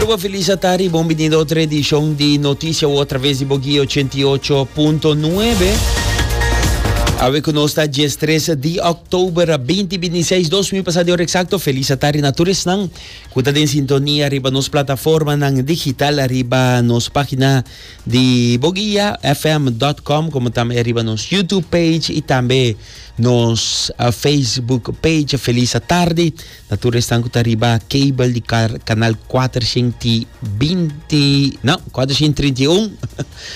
Aruba feliz atari, bon bini na otro edicion di Noticia Awo atraves di Boguia 88.9. Awe cu nos ta 13 di oktober 2026, dos minuut pasa di ora exacto. Feliz atari na tur esnan cu ta den sintonia riba nos plataformanan digital, riba nos pagina di boguiafm.com, como tambe riba nos YouTube page y tambe nos Facebook page. Feliz atardi. Na tur esnan ku ta riba cable di kanal 420, no, 431.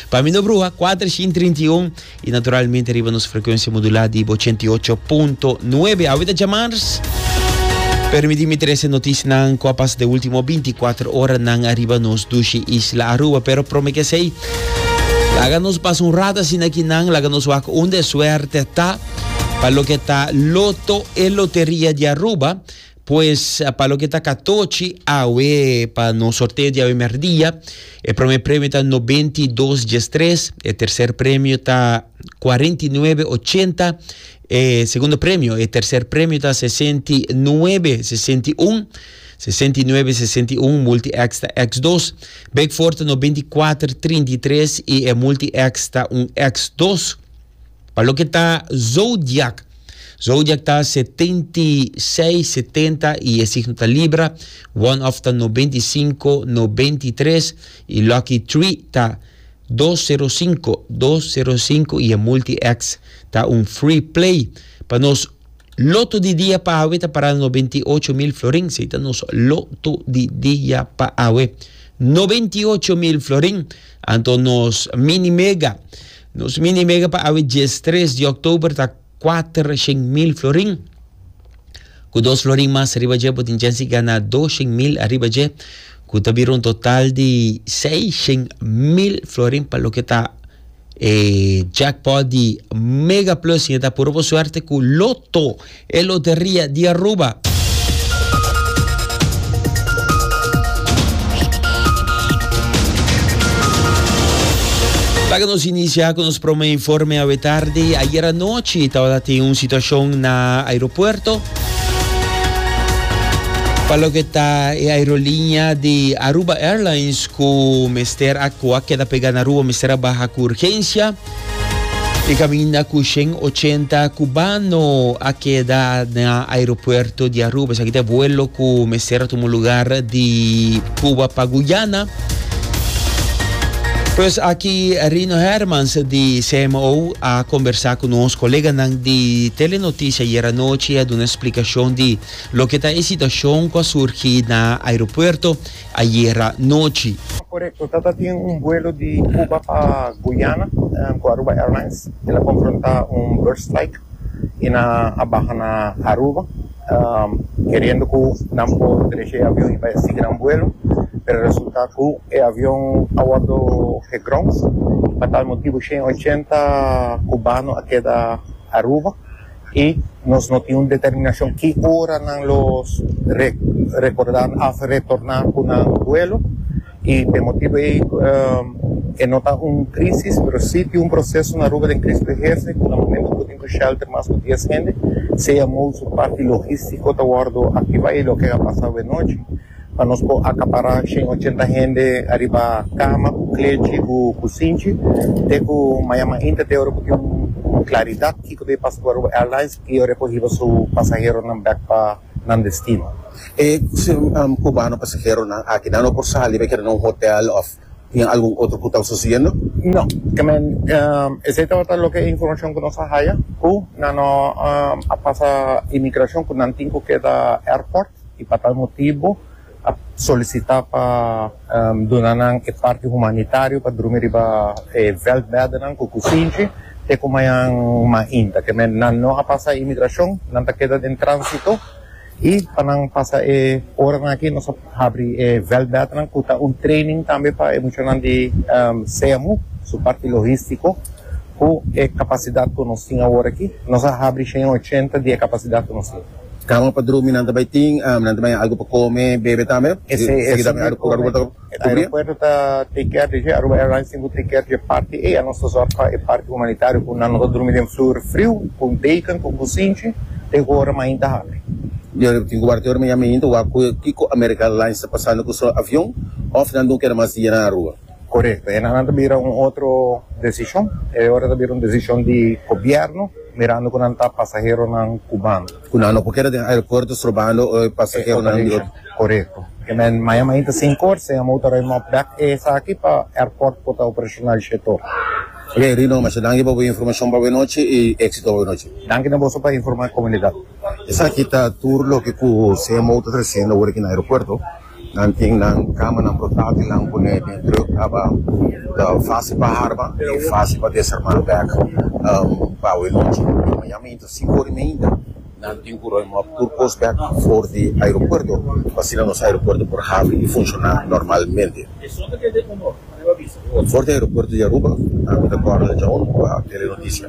Pa mi no bruha, 431 i naturalmente riba nos frekuensia modulá di 88.9. Awe ta djamars. Permití mi trese notisianan ku a pasa de último 24 oranan ariba nos dushi isla Aruba. Pero prome ke esei, laga nos pasa un rato asina akinan, laga nos wak unda e suerte ta. Pa loke ta Loto e Loteria di Aruba, pues pa loke ta Catochi awe pa nos sorteo di awe merdia, e prome premio ta 92 diestres, e tercer premio ta 49 80, e segundo premio, e tercer premio ta 69 61, 69 61, multi X ta X2, Big Four ta 94 33 y e multi X ta un X2. Pa loke ta zodiac, zodiac ta 76, 70 y e signo ta Libra, one off ta 95, 93 y lucky three ta 205, 205 y e multi X ta un free play. Pa nos loto di dia pa awe ta para 98 mil florin, esey ta nos loto di dia pa awe. 98 mil florin, anto nos mini mega. Nos mini mega pa awe 13 di oktober ta 400 mil florin. Ku dos florin mas riba dje bo tin chance di gana 200 mil ariba dje, ku ta bira un total di 600 mil florin pa loke ta e jackpot di Mega Plus. Y ta puro bo suerte ku Lotto, e loteria di Aruba. Laga nos inicia cu nos prome informe awe tardi. Ayer anochi tabata tin un situacion na aeropuerto. Pa loke ta e aerolinea di Aruba Airlines cu mester a cu a keda pega na Aruba mester a baha cu urgencia. E caminda cu 180 cubano a keda na aeropuerto di Aruba. Esaki ta e vuelo cu mester a tuma lugar di Cuba pa Guyana. Pues aki Rino Hermans di CMO a conversa cu nos coleganan di Telenoticia ayer anochi a duna explicacion di loke ta e situacion cu a surgi na aeropuerto ayera nochi. Korekto, tata tin un buelo di Cuba pa Guyana ku Aruba Airlines. El a konfrontá un bird strike i nan a baha na Aruba keriendo ku nan por drecha e avion i bai sigui nan buelo, pero resulta ku e avion a wòrdu geground. Pa tal motibu 180 cubano a keda Aruba. I nos no tin un determinashon ki ora nan lo rekordá òf retorná ku nan duelo. I p'e motibu ei e no ta un krísis, pero sí tin un proseso na Aruba den Cristo Eherse ku na momento ku tin ku shelter mas ku dies hende, sea mou su parti logístiko ta wòrdu aktivá i loke a pasa awenochi. Pa nos por akapará 180 hende ariba kama ku klechi ku kusinchi te ku maña mainta te ora ku tin un klaridat kiko ta e pasa ku Aruba Airlines i ora e por hiba su pasaheronan bèk pa nan destino. E cubano pasaheronan aki nan no por sali bai keda na un hotel of tin algun otro ku ta sucediendo? No, esei tabata loke e informacion ku nos a haya ku nan no a pasa imigracion ku nan tin ku keda airport. I pa tal motibu a solisitá pa duna nan e parti humanitario pa drumi riba e vèldbèdenan ku kusinchi te ku mañan mainta. Ke men nan no a pasa imigrashon, nan ta keda den tránsito i pa nan pasa e oranan aki nos a habri e vèldbèdenan ku ta un training tambe pa e muchanan di CMU, su parti logístiko, ku e kapasidat ku nos tin awor aki. Nos a habri 180 di e kapasidat ku nos tin. Kama pa drumi nan ta bai tin, nan ta bai algu pa kome, bebe tambe. Esei ta Aruba ta kubri. Aeropuerto ta take care di dje, Aruba Airlines tin ku take care di e parti ei, anos ta zorg pa e parti humanitario ku nan no ta drumi den flur friu, ku deken, ku kusinchi, te ku ora mainta habri. Yo tin ku warda te ora mañana mainta wak ku kiko America Airlines ta pasando ku su avion. òf nan no keda mas dia na Aruba. Korekto. E nan ta bira un otro desishon. E ora ta bira un desishon di gobièrnu mirando ku nan ta pasaheronan kubano. Ku nan no por keda den aeropuerto strobando e pasaheronan di otro. Korekto. Ke men maya mainta sinkor CMO ta ruim op bek esaki pa airport por ta operashonal shetor. Ok Rino, masha danki pa bo informashon pa bo nochi i éksito pa bo nochi. Danki na boso pa informa e komunidat. Esaki ta tur loke ku CMO ta tresiendo awor aki na aeropuerto. Nan tin nan kamanan portátilnan pone den trùk kaba ta fásil pa harma i fásil pa desarmá bèk pa awe nochi. I mañana mainta sinku ora i meinta nan tin ku ruim òp tur kos bèk for di aeropuerto pa asina nos aeropuerto por habri i funshoná normalmente. For di aeropuerto di Aruba, ami ta Cornel Jones pa Telenoticia.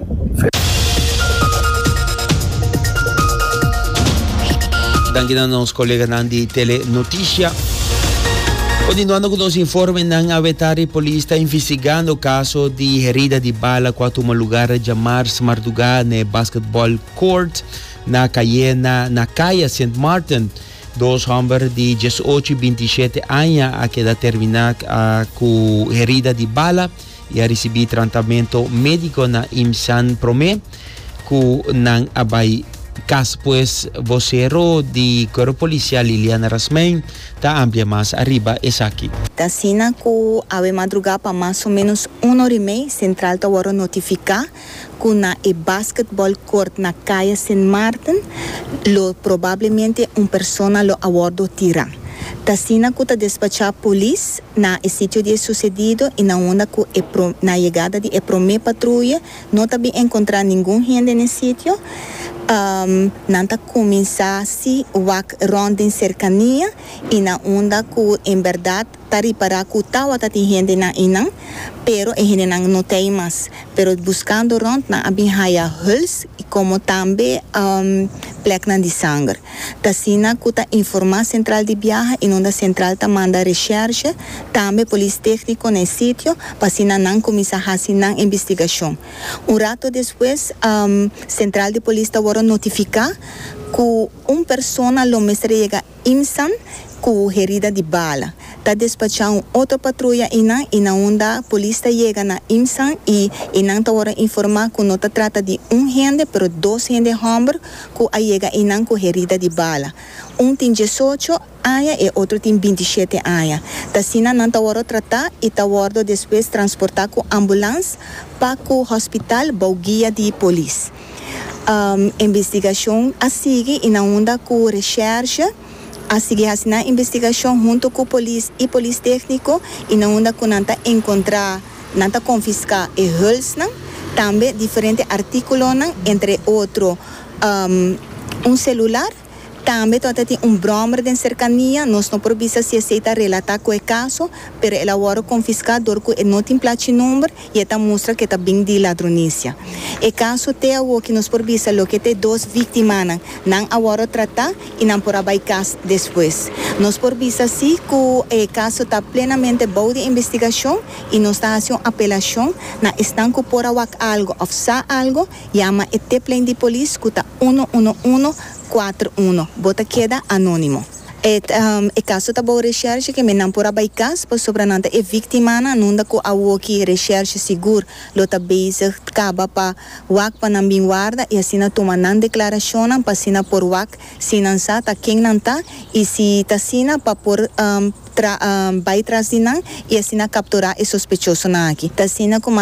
Danki na nos coleganan di Telenoticia. Continuando cu nos informenan, awe tardi polis ta investigando caso di herida di bala cu a tuma lugar djamars marduga n'e basketball court na Cayena na Caya Sint Maarten. Dos hòmber di diesocho i bintishete aña a keda terminá ku herida di bala i a risibí tratamentu médiko na IMSAN promé ku nan a bai kas. Pues vosero di Kuerpo Polisial Liliana Rasmijn ta amplia mas ariba esaki. Ta asina ku awe madrugá pa mas o ménos un ora i mei sentral ta wòrdu notifiká ku na e basketball court na Kaya Sint Maarten lo probablemente un persona lo a wordo tira. Ta asina ku ta despachá polis na e sitio di e susedido i na unda ku e na yegada di e promé patruye no ta bin enkontrá ningun hende na e sitio. Nan ta kuminsá si wak rònt den serkania i na unda ku en bèrdat Ta ripará ku tawata tin hendenan einan, pero e hendenan no ta ei mas. Pero buskando rònt nan a bin haya huls i komo tambe plèknan di sanger. Ta asina ku ta informá sentral di biaha i nunda sentral ta manda reshèrshe, tambe polis tékniko na e sitio pa asina nan kuminsá hasi nan investigashon. Un rato despues sentral di polis ta wòrdu notifiká ku un persona lo mester yega Imsan ku herida di bala. Ta despachá un otro patruya einan i na unda polis ta yega na Imsan i einan ta wòrdu informá ku no ta trata di un hende pero dos hende hòmber ku a yega einan ku herida di bala. Un tin diesocho aña e otro tin bintishete aña. Ta asina nan ta wòrdu tratá i ta wòrdu despues transportá ku ambulans pa ku hospital bou guia di polis. Investigashon a sigui i na unda ku reshèrshe a sigui hasi nan investigashon huntu ku polis i polis tékniko i na unda ku nan ta enkontrá nan ta konfiská e hulsnan, tambe diferente artíkulonan entre otro un selular. Tambe tabata tin un bròmer den serkania, nos no por bisa si esei ta relatá ku e kaso, pero el a wòrdu konfiská dor ku e no tin plachi number i e ta mustra ku e ta bin di ladronisia. E kaso te awoki nos por bisa loke ta e dos víktimanan, nan a wòrdu tratá i nan por a bai kas despues. Nos por bisa si ku e kaso ta plenamente bou di investigashon i nos ta hasi un apelashon na esnan ku por a wak algu òf sa algu, Yama e tiplijn di polis ku ta uno uno uno kuater uno. Bo ta keda anónimo. E e kaso ta bou reshèrshe ke men nan por a bai kas pasobra nan ta e víktimanan nunda ku awoki reshèrshe sigur lo ta bezig kaba pa wak pa nan bin warda i asina tuma nan deklarashonnan pa asina por wak si nan sa ta ken nan ta i si ta asina pa por tra bai tras di nan i asina kapturá e sospechosonan aki. Ta asina ku.